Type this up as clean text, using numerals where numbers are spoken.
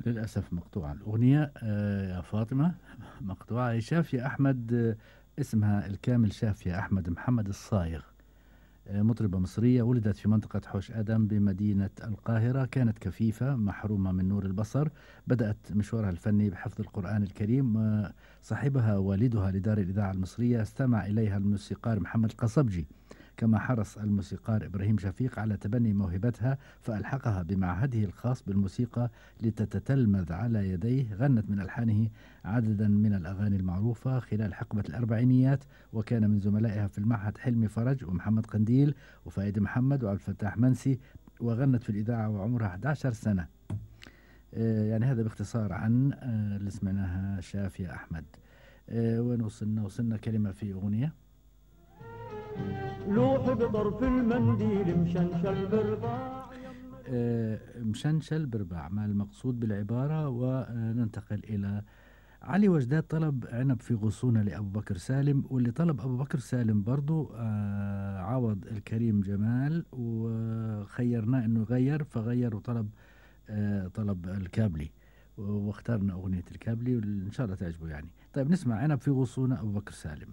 للأسف مقطوعة الأغنية يا فاطمة. مقطوعة. هي شافية أحمد، اسمها الكامل شافية أحمد محمد الصايغ. مطربة مصرية ولدت في منطقة حوش آدم بمدينة القاهرة. كانت كفيفة محرومة من نور البصر. بدأت مشوارها الفني بحفظ القرآن الكريم. صاحبها والدها لدار الإذاعة المصرية. استمع إليها الموسيقار محمد القصبجي، كما حرص الموسيقار إبراهيم شفيق على تبني موهبتها فألحقها بمعهده الخاص بالموسيقى لتتتلمذ على يديه. غنت من ألحانه عددا من الأغاني المعروفة خلال حقبة الأربعينيات، وكان من زملائها في المعهد حلمي فرج ومحمد قنديل وفايد محمد وعبد الفتاح منسي. وغنت في الإذاعة وعمرها 11 سنة. يعني هذا باختصار عن اللي سمعناها شافية أحمد. وين وصلنا كلمة في أغنية لوح بطرف المنديل مشنشل برباع. مشنشل برباع ما المقصود بالعبارة. وننتقل إلى علي وجداد. طلب عنب في غصونة لأبو بكر سالم، واللي طلب أبو بكر سالم برضو عوض الكريم جمال، وخيرناه أنه يغير فغير وطلب طلب الكابلي، واخترنا أغنية الكابلي وإن شاء الله تعجبه يعني. طيب نسمع عنب في غصونة أبو بكر سالم.